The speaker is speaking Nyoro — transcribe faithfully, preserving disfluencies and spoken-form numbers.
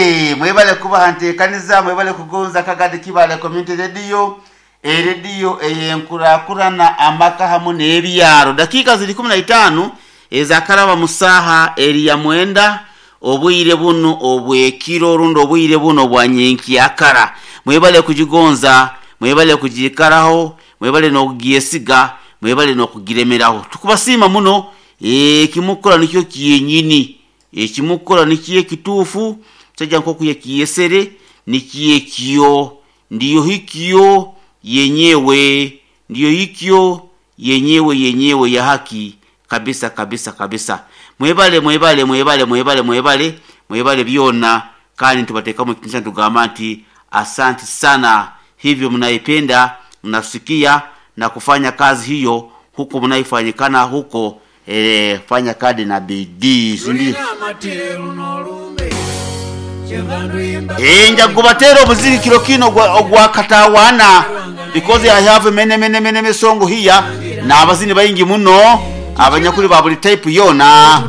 Eh, mwebale kubaha nteekaniza, mwebale kugonza Kagadi Kibale Community Radio, erediyo eyenkurakurana amaka hamu n'ebyaro. Dakiika ziri kumi na itaano ezakaraba mu saaha eri ya mwenda obwire buno obwekiro rundi obwire buno bwa nyenkyakara. Mwebale kugigonza, mwebale kugiikaraho, mwebale n'okugyesiga, mwebale n'okugiremeraho. Tukubasiima muno. Ekimukora nikyo kyenyini, ekimukora nikyo ekituufu. Musajja nkoku yakiyesere nikyo ekyo, ndiyo hikyo yenyewe, ndiyo hikyo yenyewe yenyewe ya haki kabisa kabisa kabisa. Mwebale, mwebale, mwebale, mwebale, mwebale, mwebale byona. Kandi tubateekamu ekitinisa, tugamba nti asante sana. Hivyo mnaipenda, mnasikia na kufanya kazi hiyo huko mnaifanyikana huko. E, fanya kadi na bidii, si ndio? Eh, njakubatera obuzirikiro kino ogwa- ogwa katawana because I have many many many misongo here n'abazini baingi muno, abanyakuli ba buli type yona.